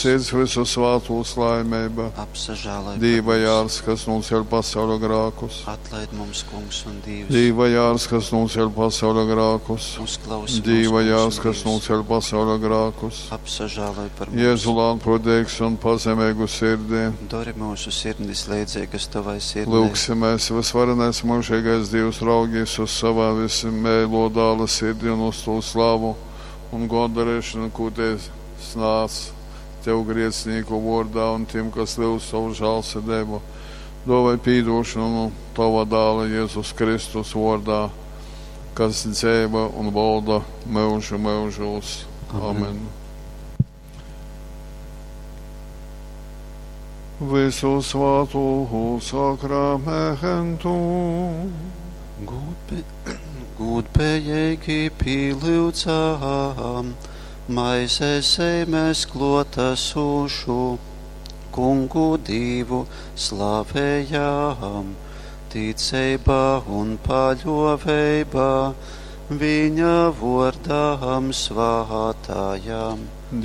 Sirds, vysu svātūs laimeiba. Apsažāloj par Dīva mums. jārs, kas nūceļ pasauļa grākus. Atlaid mums, Kungs un Dīvs. Dīva jārs, kas nūceļ pasauļa grākus. Uzklausi mūs, Dīva Kungs jārs, un kas Dīvs. nūceļ pasauļa grākus. Apsažāloj par mums. Jēzu lānprātīgs un pazemīgu sirdī. Dori mūsu sirdis leidzīgas tavai sirdij. Lūgsimies, visvarenais mūžīgais Dievs, raugīs uz savā vismēlo dāla sirdi un uz to slavu un gondarēšanu, ko te snāc tev grēcinieku vārdā un tiem, kas lūdz savu žālsirdību. Dāvāj piedošanu no tava dāla Jēzus Kristus vārdā, kas dzīvo un valda mūžu mūžos. Amen. Visu svātu sakramentu. Gūdbe, gūdbējīgi pīlyudzām, maizes zemes klotasušu, kungu Dīvu slavējām, ticībā un paļoveibā, viņa vordām svātājām.